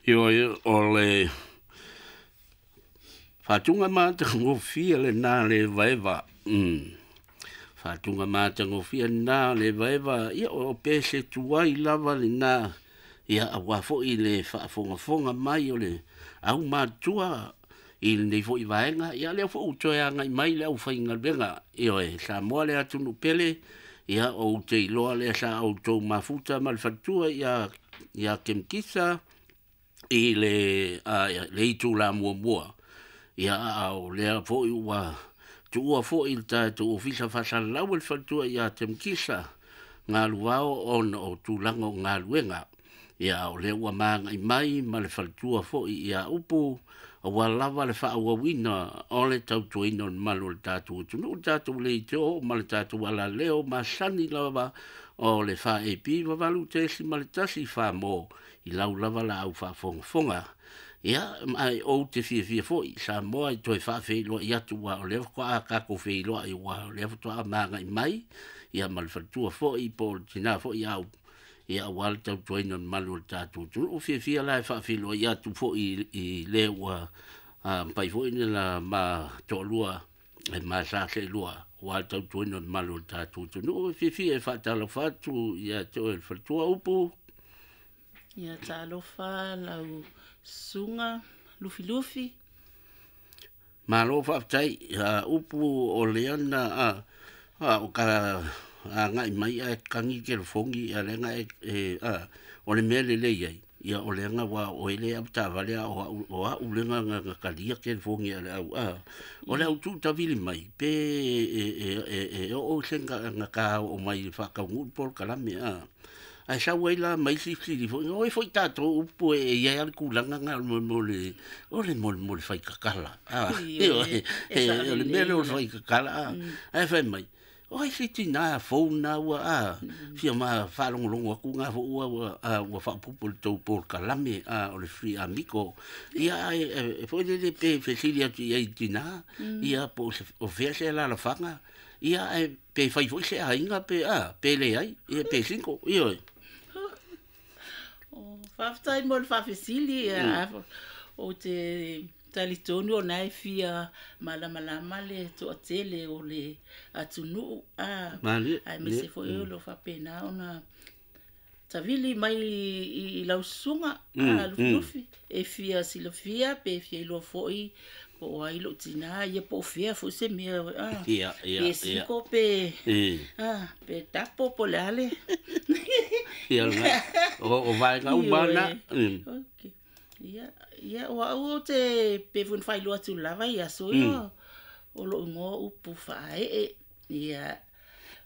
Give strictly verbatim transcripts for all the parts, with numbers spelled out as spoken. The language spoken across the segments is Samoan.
Ioe o le faatuga matagofie lenā le evaeva mm faatuga matagofie lenā le evaeva ia o pese tuai lava lenā ia aua foi le faafogafoga mai o le aumatua i lenei foi vaega. Ia lea foi ua toe agai mai le aufaigaluega, ioe, Samoa le atunuu pele, ia ou te iloa lea sa outou mafuta ma le faletua ia ia Kemikisa i le a le itula muamua. Ia a o lea foi ua tuua foi le tatou ofisa faasalalau e le faletua ia Kemikisa galuvao ona o tulaga o galuega. Ia o lea ua magai mai ma le faletua foi ia Upu, aua lava le faaauauina o le tautuaina o le mamalu o le tatou atunuu, le tatou leitio ma le tatou alaleo masani lava o le F A P valu tesima le tasi Samoa i lau lava la au faafogafoga. Ia ai ou te fiafia foi Samoa i toe faafeiloai atu aua o lea faatoa tatou feiloai aua o lea faatoa magai mai ia ma le faletua foi po o le tina foi au ia aua le tautuaina o le mamalu o le tatou atunuu. Fiafia la e faafeiloai atu foi i le ua mafai foi ona ma toalua e ma sa seelua aua le tautuaina o le mamalu o le tatou atunuu. Fiafia e faatalofa atu ia te oe le faletua Upu. Ia talofa lau susuga Lufilufi. Malo faafetai Upu o lea na o ka agai mai ae kagi telefoni ia lea na e a o le mea lelei ai ia o lea na ua o ele avataavale a o o a'u lea na na talia telefoni a le au a o le au tuutavili mai pe e e e e oo se na ka oo mai i faataunuu polokalame a ae sau ai la mai silisili foi oi foi tatou Upu e i ai le tulaga na o le mo le o le mo le mo le faitatala a o le mea lea o le faitatala a ae fai mai oi se tina fou na ua a fia ma faalogologo atu na fo ua ua ua faaopoopo i le tou polokalame a o le Three Amigo ia e foi lele pe fesili atu i ai i tina ia po o fea se alaalafaga ia e pe fai foi se aiga pe a pe leai ia pe single ioe. O faafetai mo le faafesili o te talitonu ona e fia malamalama le toatele o le atunuu a aemaise foi o lo faapena ona tavili mai i lau susuga a Lufilufi e fia silafia pe fia iloa foi po o ai lou tina ia po o fea foi se mea a pe siko pe a pe tapo po o le a le ia o vaega uma na. Okay. Ia ia o au o te pe fun failoa atu lava ia aso ia o lou igoa Upu Faaee ia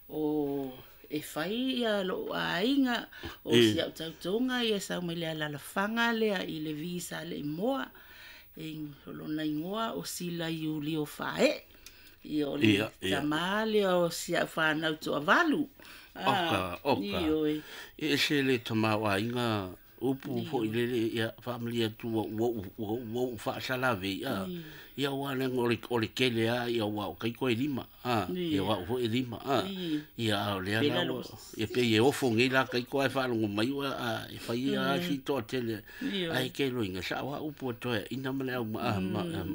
o e fai ia lou aiga o si au tautoga ia sau mai le alaalafaga lea i le visa le imoa e o lona igoa o Sila Iulio Faaee ia o le tama lea o si au fanau toavalu. Oka oka e ese le tamaoaiga Upu foi lele ia faamalie atu ua ua ua ou faasalave a ia aua leaga o le o le tele a ia aua o taito e lima a ia o a'u foi e lima a ia a o lea la ua ia pei e ofo nei la taito ae faalogo mai ua a e fai a si toatele ae ke loiga sa'o a Upu e toe ina ma le au ma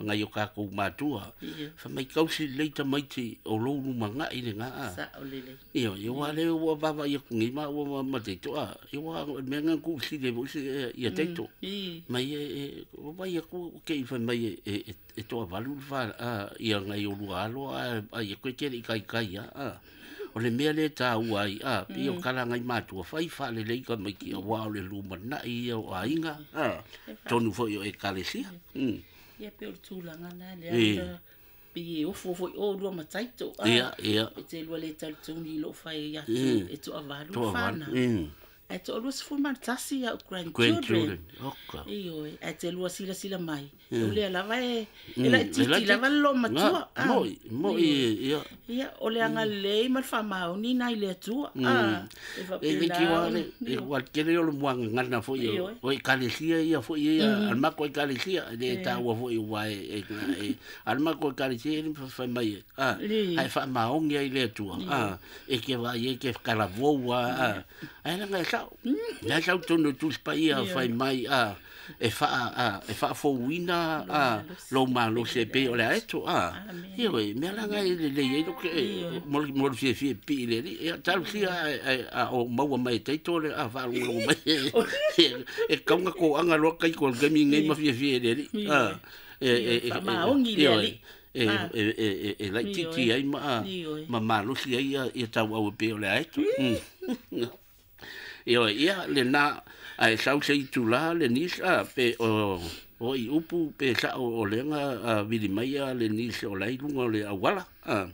nai o tatou matua fai mai tausi lelei tamaiti o lou lumaga'i lena a ia ia ua lea ua vaavaai atu nei ma ua ma taito a ia ua o le mea lena na tuufesili ai foi ia taito mai e o vai atu ke i fai mai e e toavalu le fa ia nai o lua alo a ia koe tele i kaikai a o le mea lea e taua ai a pei o tala nai matua fai faalelei tamaiti aua o le lumana'i ia o aiga a tonu foi o ekalesia. Ia pe o le tulaga na lea pe e ofo foi o lua ma taito a e te lua le talitonu i lou fai atu e toavalu fanau ae toalua sefulu ma le tasi au grandchildren. Ioe, ae te lua silasila mai o lea lava e e laitiiti lava le loomatua. Moi moi ia ia o le agalelei ma le faamaoni nai le Atua a e faapena e ua tele o le muagagana foi o ekalesia ia foi ia a le mako ekalesia e le taua foi ua e e a le mako ekalesia e fai mai a ae faamaoni ai le Atua a e ke vaai e ke kalavou a ae laga sao. Na sau tonu tu paia fai mai a e fa a e fa fouina a lo malo se pe o le aeto a. Ia we me la ngai le le i ke mo mo fie fie pi le li ia tal sia a o maua mai te to le a fa lo mai e kaunga ko anga lo kai ko ke mi ngai ma fie fie le li a e e e maongi le li e e e e lai ti ti ai ma ma malo sia ia ia tau au pe o le aeto. Ia ia le na ai sau se itula le nis a pe o o i upu pe sa o lenga vili mai a le nis o lai lunga le awala a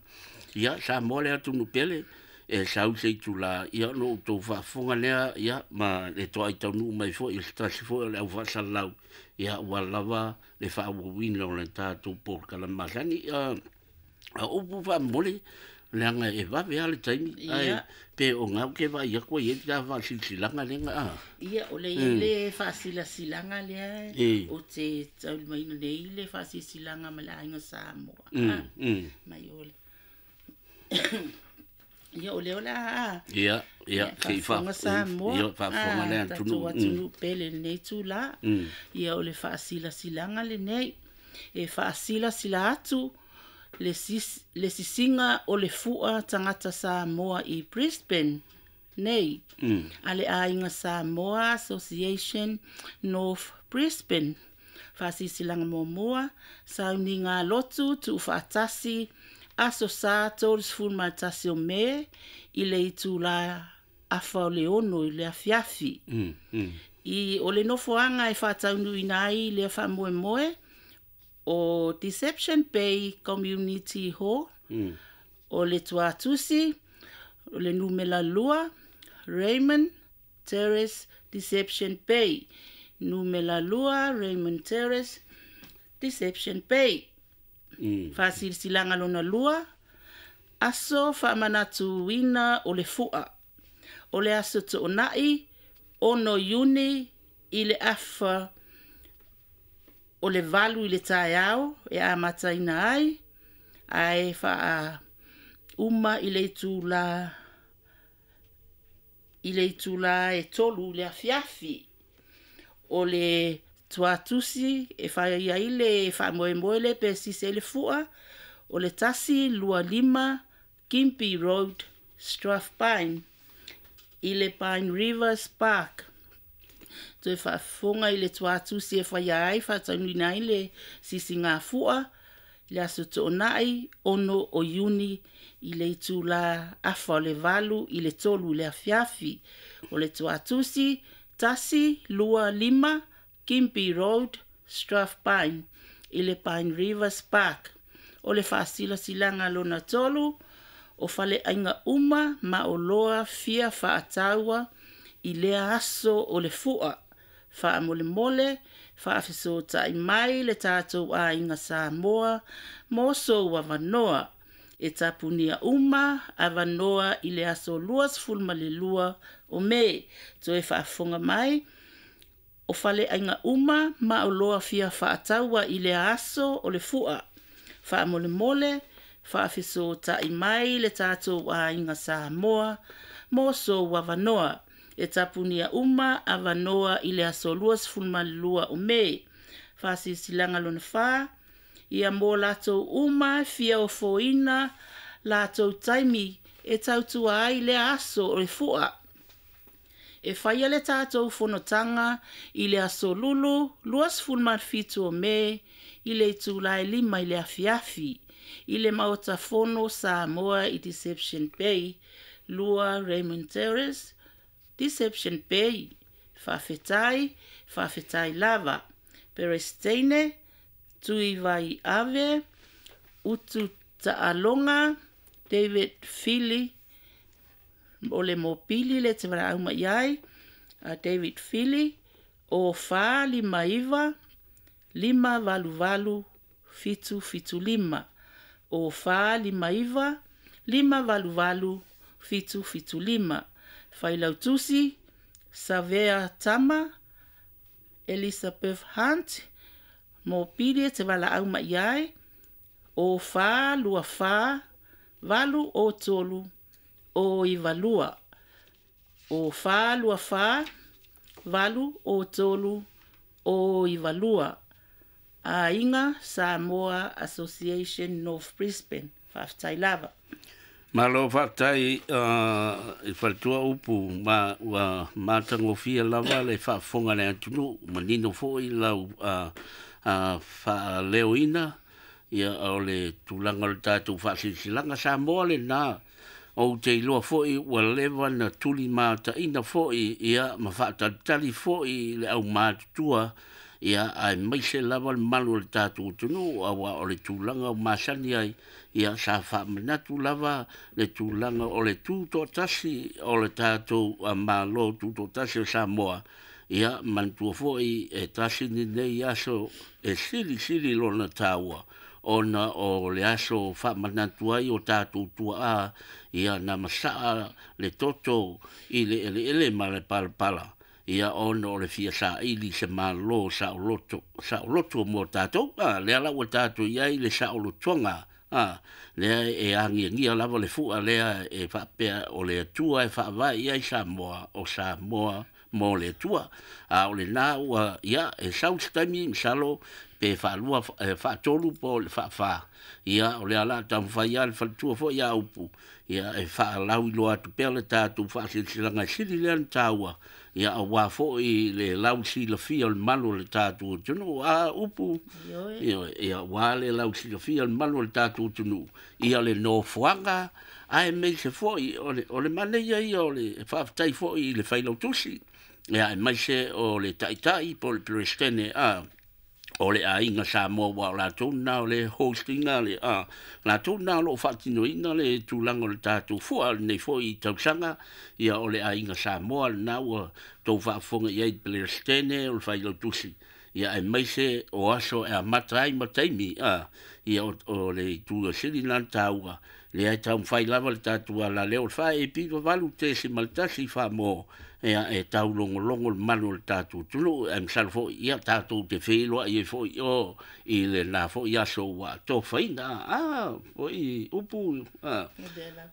ia sa mo le atu nupele e sau se itula ia no to fa fonga lea ia ma le to ai tau nu mai fo i stasi fo le au fa salau ia wa lava le fa win lo le ta tu por kala masani a upu fa mole leanga e vave ale taimi ai pe o ngau ke vai ia ko ia ta va silsilanga lenga a ia o le le fa silsilanga le o te tau mai nei le fa silsilanga ma la inga Samoa mm mm mai ole ia o le ola a ia ia ke fa Samoa ia fa fonga le tunu tunu pele nei tu la ia o le fa silsilanga le nei e fa silsila atu le sis le sisinga o le fua tangata Samoa i Brisbane nei mm. Ale aiga Samoa Association North Brisbane fasisilanga momoa sauninga lotu tu faatasi aso sa tolu ma tasi o me i le itula afa o le ono i le afiafi mm. Mm. I o le nofoanga e faataunuina ai le faamoemoe o Deception Bay Community Hall, mm. o le Tuatusi, o le numela lua, Raymond Terrace, Deception Bay. Numela lua, Raymond Terrace, Deception Bay. Mm. Fasilsilanga lona lua, aso faamanatuina o le fua. O le aso toonai, ono Iuni i le afa o le valu i le taeao e amataina ai, ae faa uma i le itula i le itula e tolu le afiafi. O le tuatusi e whai ai le whaamoemoe le pe sise le fua, o le tasi lua lima Gympie Road, Strathpine, i le Pine Rivers Park. Toe whaafonga i le tuatusi e whai ai, whaataunina ai le sisi ngā fua, le aso toonai, ono o Iuni, i le itula afa o le valu, i le tolu le afiafi. O le tuatusi, tasi lua lima, Gympie Road, Strathpine, i le Pine Rivers Park. O le whaasilasilanga lona tolu, o fale ainga uma ma o loa fia whaataua i lea aso o le fua. Whaamolemole, whaafesotai mai le tātou ainga Samoa, moso wavanoa. E tapunia uma avanoa i le aso lua sefulu ma le lua o me. Toe whaafonga mai, o fale ainga uma ma o loa fia whaataua i le aso o le fua. Whaamolemole, whaafesotai mai le tātou ainga Samoa, moso wavanoa. E tapunia uma avanoa i le aso lua sefulu ma le lua o me. Whaasisilanga lona wha, ia mō lātou uma fia o foina lātou taimi e tautua ai le aso o le fua. E whaia le tātou fonotanga i le aso lulu, lua sefulu ma le fitu o me, i le itula e lima i le afiafi, i le maota fono Samoa i Deception Bay, lua Raymond Terrace, Deception Bay, whawhetai, whawhetai lava, Peresteine, Tui Vai Ave, Utu Ta'alonga, David Fili, o le mopili le te waraau mai ai, a David Fili, o wha lima iwa, lima valu valu, fitu fitu lima. O wha lima iwa, lima valu valu, fitu fitu lima. Failautusi, Savea Tama, Elizabeth Hunt, mopili e te walaau mai ai, o wha lua wha, valu o tolu, o iwa lua. O fa lua fa valu o tolu o ivalua. Aiga Samoa Association North Brisbane. Faafetai lava. Malo faafetai uh, i faletua upu ma ua matagofie lava le faafofoga le atunuu manino foi lau uh, uh, faaleoina ia o le tulaga o le tatou faasilasilaga Samoa lena ou te iloa foi ua leva na tuli mataina foi ia ma faatalitali foi le aumatutua ia aemaise lava le malu o le tatou atunuu auā o le tulaga o masani ai ia sa faamanatu lava le tulaga o le tutoatasi o le tatou Malo tutoatasi o Samoa ia manatua foi e tasi lenei aso e silisili lona taua ona o le aso faamanatu ai o tatou tuaa ia na masaa le toto i le eleele ma le palapala ia ona o le fia saili se malo saoloto saoloto mo tatou a lea la ua tatou i ai le saolotoga a lea e agiagia lava le fua lea e faapea o le Atua e faavae i ai Samoa o Samoa mo le Atua a o lena ua ia e sau se taimi masalo pe faalua e faatolu po o le faafā ia o lea la taumafai lava le faletua foi ia upu ia e faalauiloa atu pea le tatou faasilasilaga e sili lea ona taua ia auā foi le lausilafia o le malu o le tatou atunuu a upu Ioe. ia auā le lausilafia o le malu o le tatou atunuu ia le nofoaga aemaise foi o le o le manaia ia o le faafetai foi i le failautusi ia aemaise o le taitai po o le Peresetene a o le aiga Samoa ua o latou na o le hostinga le a latou na o loo faatinoina le tulaga o le tatou fua lenei foi tausaga ia o le aiga Samoa lena ua tou faafofoga i ai Peresetene o le failautusi ia aemaise o aso e amata ai ma taimi a ia o, o le itu sili lena taua lea e taumafai lava le tatou alaleo o le fa e piva valu tesi ma le tasi faamoa ia e taulogologo le malu o le tatou atunuu ae masalo foi ia tatou te feiloai ai foi o i lena foi aso ua tofaina a foi upu a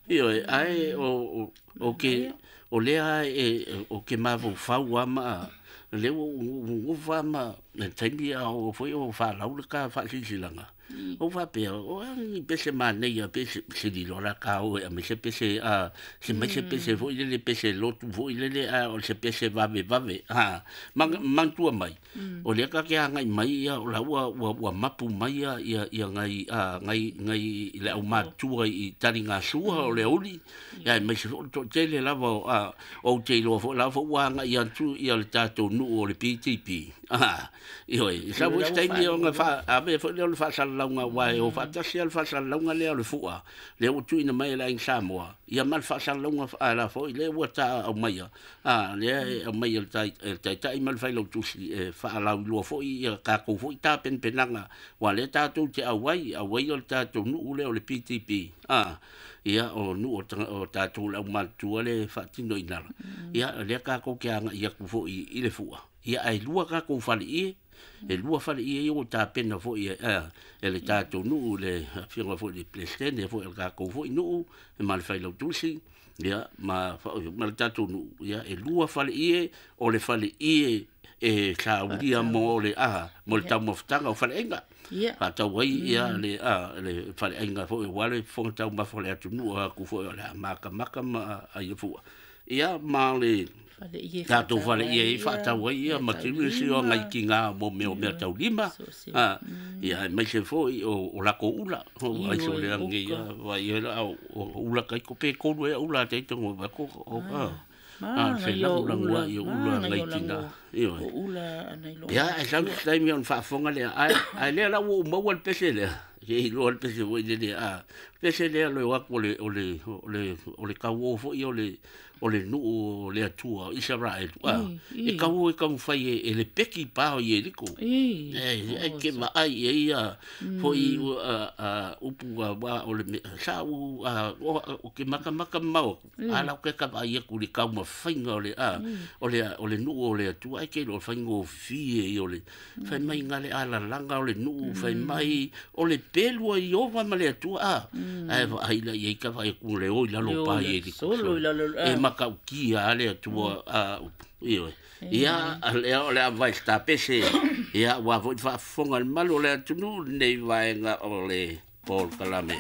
ioe ae o o o ke o lea e o ke mafaufau ama le ua ufa ma le taimi a o foi o falau le ka faasilasilaga o faapea o a ni pese manaia pese sililo la ka o e aemaise pese a se mai se pese foi lele pese lotu foi lele a o se pese vave vave a manatua mai o lea ka ke agai mai ia o la ua ua ua mapu mai ia ia ia ngai a ngai ngai le aumatutua i taligasua o le auli ia aemaise foi o le toatele lava o a ou te iloa foi la foi ua agai atu ia le tatou nuu o le P T P a ioe sa foi se taimi o ga ave foi lea o le faasalalauga aua e o faatasi a le faasalalauga lea o le fua lea ua tuuina mai e le aiga Samoa ia ma le faasalalauga la foi lea ua ta aumaia a lea e aumaia le tai le taitai ma le failautusi e faalauiloa foi ia tatou foi tapenapenaga ua lea tatou te auai auai o le tatou nuu lea o le P T P a ia o nuu o tatou le aumatutua le faatinoina la ia lea tatou te agai atu foi i le fua ia ae lua tatou faleie e lua faleie ia ua tapena foi e e le tatou nuu le afioga foi le Peresetene foi o le tatou foi nuu ma le failautusi ia ma ma le tatou nuu ia e lua faleie o le faleie e saulia mo le a mo le taumafataga o faleaiga faatau ai ia le a le faleaiga foi ua le fofoga taumafa o le atunuu atu foi o le a makamaka ma ai fua ia ma le tatou faleie i faatau ai ia ma tilu si o ngai kiga mo mea o mea taulima a ia aemaise foi o o lakou ula o ai so le age ia vai ia o ula kai ko pe kolu e ula te tongo ba ko o a a fe lagolagua ia ula ngai tina ioe o ula anai lo ia e sau se taimi ona faafofoga lea ae ae lea la ua ou maua le pese lea ke iloa le pese foi lele a pese lea le o atu o le o le o le o le kauō foi o le o le nuu o le Atua o Isaraelu a e kauō e taumafai e e le peki pa o Ieriko e e ke vaai e ia foi a a upu a wa o le sa u a o ke makamaka mamao a lau ke ka vaai atu i le taumafaiga o le a o le o le nuu o le Atua ai ke iloa o le faigofie ia o le fai mai ga le alalaga o le nuu fai mai o le pelu ai Ova ma le Atua a Ae vaai la i ai ka vaai atu le o i lalo Le o pa le i le solo i lalo, e ah. Makaukia a le Atua a upu ioe. Ia lea o le a vai tapese ia ua foi faafofoga le malu o le atunuu lenei vaega o le polokalame.